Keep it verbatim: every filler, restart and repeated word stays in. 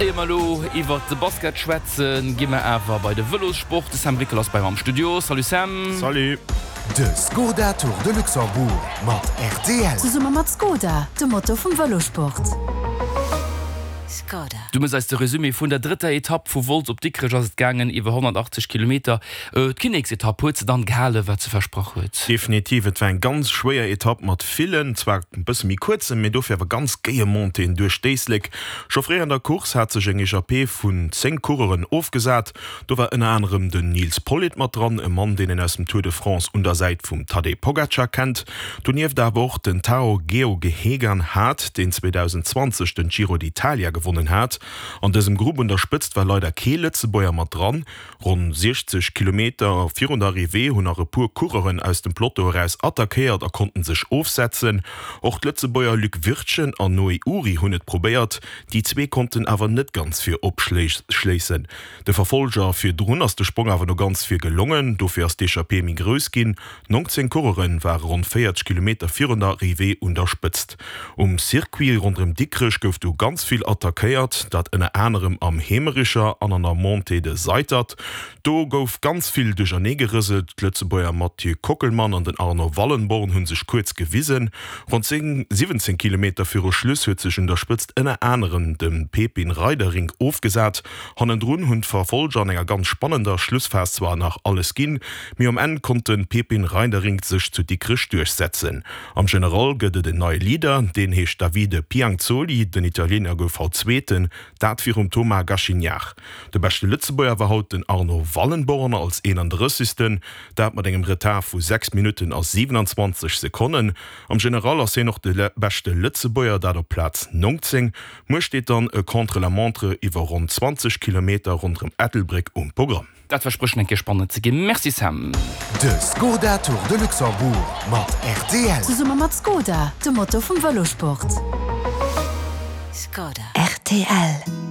Éier mer elo iwwert de Basket schwätzen, gi mer awer bei de Vëlossport. De Sam Rickel ass bei mer am Studio. Salut Sam. Salut. De Skoda Tour de Luxembourg mat rtl. Zesumme mat Skoda, dem Motor vum Vëlossport. Skoda. Du mëss eis de Resumé vun der drëtter Etapp. Vu Wolz op Dikrech ass et gaangen, iwwer honnertachtzeg Kilometer. D'Kinneksetapp, huet se dann gehalen, wat se versprach huet? Definitiv, et war eng ganz schwéier Etapp mat villen, zwar e bësse méi kuerzen, mee dofir awer ganz géie Montéeën duerch d'Éislek. Scho fréi an der Course hat sech eng Echappée vun zéng Coureuren ofgesat. Do war ënner anerem den Nils Politt mat dran, e Mann, deen een aus dem Tour de France un der Säit vum Tadej Pogacar kennt. Donieft awer och den Tao Geoghegan Hart, deen zweedausendzwanzeg den Giro d'Italia gewonnen hat. An dësem Grupp un der Spëtzt war leider kee Lëtzebuerger mat dran. Ronn siechzeg Kilometer virun der Arrivée hunn nach e puer Coureuren aus dem Peloton eraus attackéiert a konnten sech ofsetzen. Och d'Lëtzebuerger Luc Wirtgen an Noé Uhry hunn et probéiert, déi zwee konnten awer net ganz vir opschléissen. De Verfolger virdrun ass de Sprong awer no ganz vir gelongen, dofir ass d'Echappée méi grouss ginn. Nongzéng Coureure ware ronn véierzeg Kilometer virun der Arrivée un der Spëtzt. Um Circuit ronderëm Dikrech gouf du ganz vill attackéiert, dat ënner anerem am Heemericher an an der Montée de Seitert. Do gouf ganz vill duerchernee gerëselt. D'Lëtzebuerger Mathieu Kockelmann an den Arno Wallenborn hu sech kuerz gewisen. Ronn siwwenzéng Kilometer viru Schluss huet sech un der Spëtzt ënner anerem de Pepin Reiderink ofgesat. Hannendrun hunn d'Verfolger an enger ganz spannender Schlussphas zwar nach alles ginn, mee um Enn konnt de Pepin Reinderink sech zu Dikrech duerchsetzen. Am General gëtt et en neie Leader, deen heescht Davide Pianzoli. Den Italiener gouf haut Zweeten, dat virum Thomas Gachignard. De beschte Lëtzebuerger war haut den Arno Wallenborn als Eenandrëssegsten, dat mat engem Retard vu sechs Minutten a siwenanzwanzeg Sekonnen. Am General ass hien och de beschte Lëtzebuerger, dat op Plaz nongzéng. Muer steet dann e Contre-la-montre iwwer ronn zwanzeg Kilometer ronderëm Ettelbréck um Programm. Dat versprécht eng Kéier spannend ze ginn. Merci Sam. De Skoda Tour de Luxembourg mat rtl. Zesumme mat Skoda, dem Motor vum Vëlossport. Skoda. Rtl.